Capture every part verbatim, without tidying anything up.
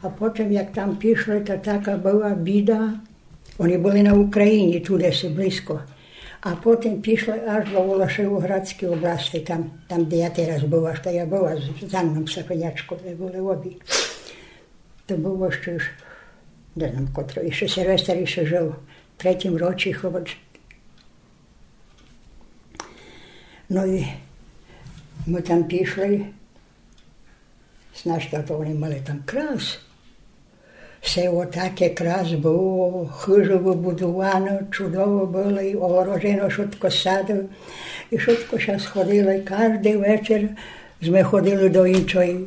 А потім, як там пішли, то така была біда. Они были на Україні, туды си близько. А потім пішли аж до Волошевоградськой области, там, там, де я тераз была, што я была з, з Анном Сафинячком, мы были обі. То было іщы ж, не знам, котро, іщы Силвестер іщы жыл, в третім році, хіба. Но і мы там пішли, Значить, а то они мали там крас. Село таке крас было, хыжы выбудуваны, чудово было, і огорожено, шутко сады, і шутко ся сходили. Каждый вечер сме ходили до іншой,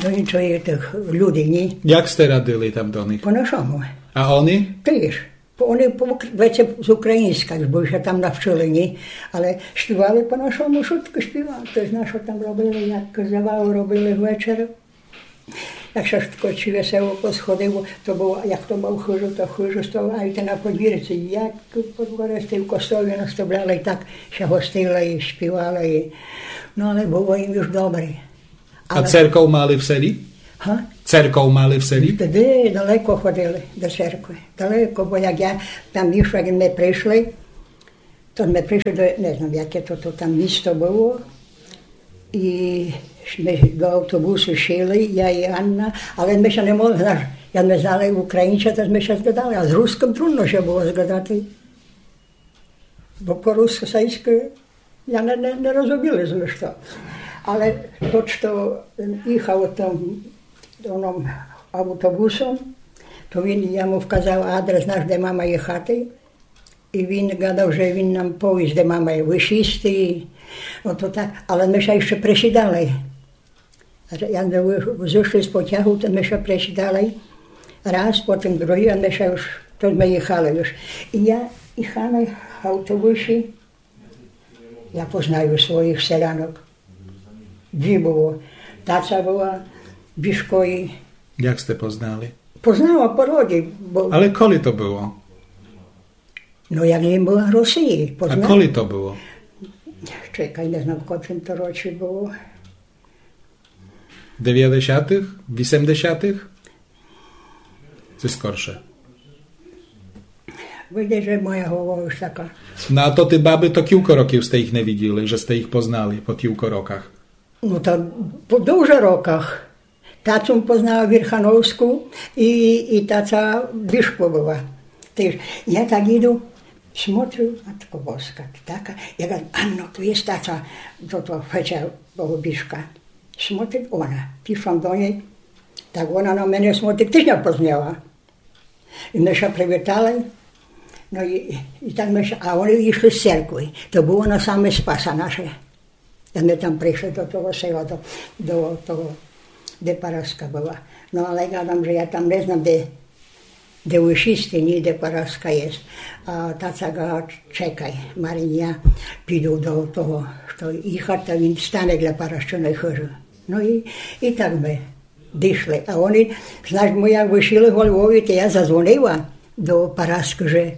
до іншой тых людей, ні? Як сте радили там до них? По нашому. А они? Тыж. Они по ук-, веце з україньска, бо ся там навчыли, ні? Але співали по нашому, шутко співали. То знаш, што там робили, як завалы робили вечер. Як ся шутко, ци весело посходило, то было, як хто мав хыжу, то хыжу став, а й те на подвірці, як подворецтві в костолі наставляли, так ся гостили і співали. І, но, але было їм уж добрі. А церков мали в селі? Га? Церков мали в селі? Тогды далеко ходили до церкви. Далеко, бо як я там ішла, як мы пришли, то мы пришли до, не знам, яке то, то там місто было. І мы до автобусу сіли, я і Анна, але мы ся не могли, знаш, як мы знали українця, то мы ся згадали, а з рускым трудно ся было згадати. Бо по-руску, російськы, я не, не, не розуміла сме што. Але тот, што іхав тым, оном автобусом, то він, я му вказала адрес наш, де мама їхати, і він гадав, же він нам повість, де мама є, вышисти. Но то так, але мы ся іщы пресідали. Як мы вы-, зышли з потягу, то мы ся пресідали раз, потім другый, а мы ся уж, то мы їхали уж. І я їхала в автобусі, я познаю своїх селянок. Дві было. Таця была, Бішко і... Як сте познали? Познала по роді, бо... Але коли то было? Но, як єм была в Росії, позна-. А коли то было? Чекай, не знам, в котрым то році было. Девятдесятых? Вісемдесятых? Ци скорше? Видиш, же моя голова уж така. Но а то тоты бабы, то кілько років сте їх не виділи, же сте їх познали по кілько роках? Но та по дуже роках. Тацю познала Вірхановську і, і таця Бішко была. Тыж я так іду, смотрю, Матко Боска, така. Я гварю: «Анно, то є таця, то, то Феця, того Бішка». Смотрю, она. Пішла до ней, так она на мене смотрит, тыж ня познала. І мы ся привітали, но і, і так мы ся, а они ішли з церкви. То было на саме Спаса наше. Як мы там пришли до того села, до, до того, де Параска была. Но але гадам, же я там не знам, де, де вышисти, ні, де Параска є. А таця гварит: «Чекай, Марин, я піду до того, што їхать, та він стане для Парасчыной хыжы». Но і, і так мы дішли. А они, значить, мы як вышли го Львові, то я задзвонила до Параскы, же,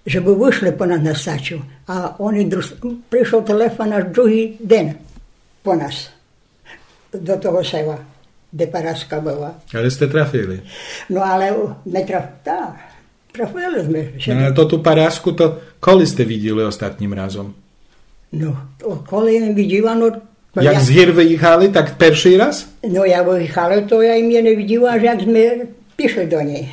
жебы вышли по нас на стацію. А они друг-, пришол телефон аж другый ден по нас до того села, де Параска была. Але сте трафили? Но але мы траф-, так. Трафили сме. Но, але то ту Параску, то коли сте виділи остатнім разом? Но, то коли єм виділа, но, то... Як я з гір выїхали, так першый раз? Но, як выїхали, то я єм не виділа, аж як сме пішли до ней.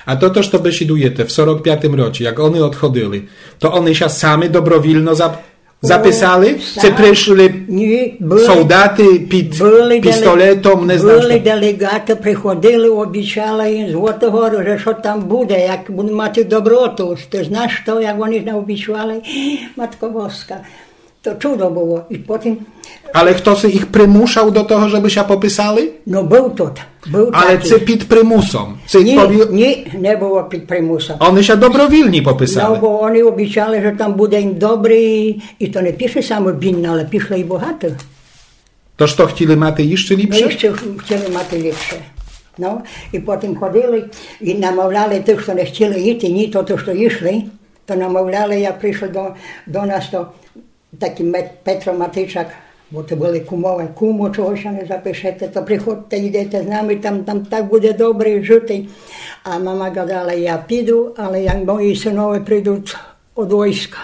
А тото, што бесідуєте в сорок пятым році, як они одходили, то они ся самы добровільно зап-, записали? О, ци пришли солдаты під пістолетом, не знам што? Ні, были, были деле-, были делеґаты, приходили, обіцяли єм Злоту Гору, же што там буде, як буду мати доброту. Ты знаш што, як они наобіцяли? Матко Боска, то чудо было. І потім... Але хтоси їх примушав до того, жебы ся пописали? Но, быв тот, быв такій. Але ци під примусом? Ци... Ні, пові-, ні, не было під примусом. Они ся добровільні пописали? Но, бо они обіцяли, же там буде єм добрі, і то не пішли самы бідні, але пішли і богаты. То што, хтіли мати іщы ліпше? Но, іщы хтіли мати ліпше. Но, і потім ходили, і намовляли тых, што не хтіли іти, ні, то, то, што ішли, то намовляли, як пришли до, до нас, то такій Мет-, Петро Матичак, Бо то были кумове: кумо, чого ся не запишете, то приходте, идете з нами, там, там так буде добре жыти. А мама гадала: я піду, але як мої сынове придут од войска.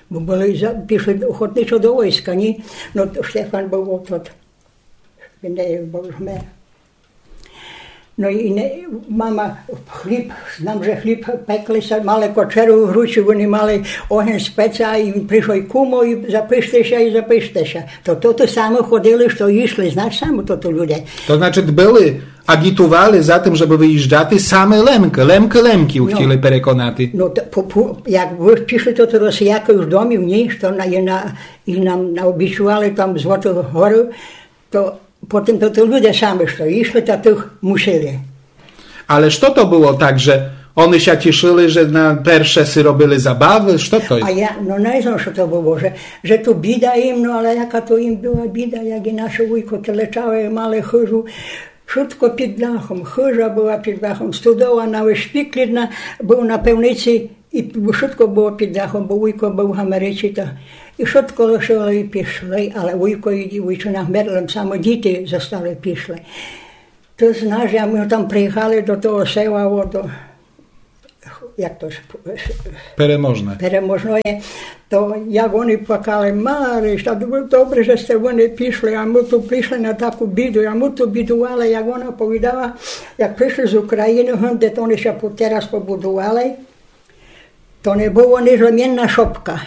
Бо были за-, пішли охотничо до войска, ні? Но то Штефан быв тот, він не быв мер. Но і не, мама хліб, знам, же хліб пекли ся, мали кочеру в гручі, они мали огень з пеца, і пришов кумо, і запиште ся, і запиште ся. То, то, то саме ходили, што йшли, знаш, саме то, то люди. То значыт, были, агітували за тым, жебы выїжджати саме Лемкы, Лемкы, Лемкы хотіли переконати. Но, то, по, по, як вы пішли, то, то Росіякы уж домів, ні, што на, і на, і нам наобіцювали там Злоту гору, то потім то, то люди самі, што йшли, та тых мусили. Але што то было так, же они ся тішыли, же на перше си робили забавы? Што то? А я, но, не знам, што то было, же, же ту біда їм, но, але яка то їм была біда, як і наші вуйко, те лечали, мали хыжу, вшытко під дахом, хыжа была під дахом, студола на вишпіклі, быв на пивниці, і вшытко было під дахом, бо вуйко быв в Америці, та і вшытко лишили, і пішли, але вуйко і вуйчина вмерли, саме діти зостали, пішли. То знаш, як мы там приїхали до того села, о, до, як то ж, Переможне. Переможноє, то як они плакали: Марі, та добре, же сте вы не пішли, а мы ту пришли на таку біду, а мы ту бідували, як она повідала, як пришли з Україны, гынде, то они ся по-, тераз побудували, то не было нич лем єдна шопка.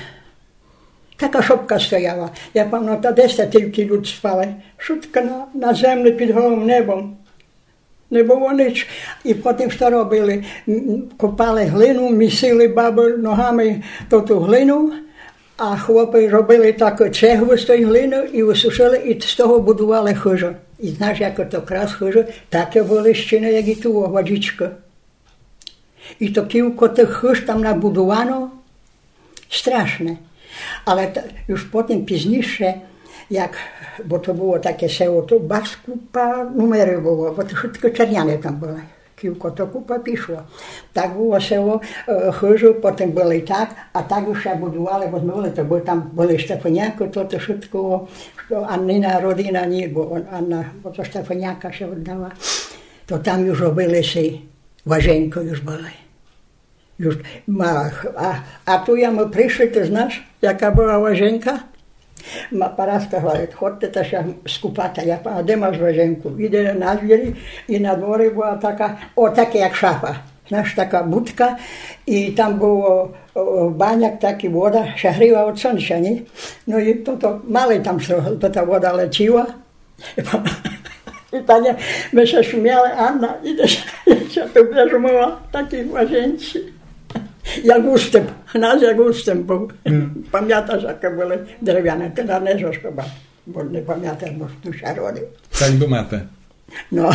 Така шопка стояла. Я памятам, десь та тілько люд спали. Вшытко на, на землі під голым небом. Не было нич. І потім што робили? М, копали глину, місили бабы ногами ту, ту глину, а хлопы робили так цеглу з той глины і высушили, і з того будували хыжы. І знаш, як то крас хыжы, таке были стіны, як і ту, гладічкы. І то кілько тых хыж там набудувано, страшне. Але та, уж потім пізніше, як, бо то было таке село, то барз купа нумерів было, бо то вшытко Черняне там были. Кілько то купа пішло. Так было село, е, хыжы, потім были так, а так уж ся будували, бо мы были, то был там, были Штефанякы, то, то вшытко, што Аннина родина, ні, бо он, Анна, бо то Штефаняка ся оддала, то там уж робили си, ложенькы уж были. Уж, ма-, а, а ту як мы пришли, ты знаш, яка была ложенька? Ма-, Параска говорит: ходте та ся скупати. Я па-, а де маш ложеньку? Іде на двір, і на дворі была така, о, така як шафа. Знаш, така будка, і там было, о, баняк такый, вода, ся гріла од сонця, ні? Но і то, то мали там, што, то та вода летіла. І паня, мы ся сміяли: Анна, ідеш, я ся ту вижмыла, такій ложенці. Як уступ, у нас як уступ быв. Мгм. Памяташ, яке были деревяне, тераз не знам хіба, бо не памятам, бо ту ся родив. Так думате. Но.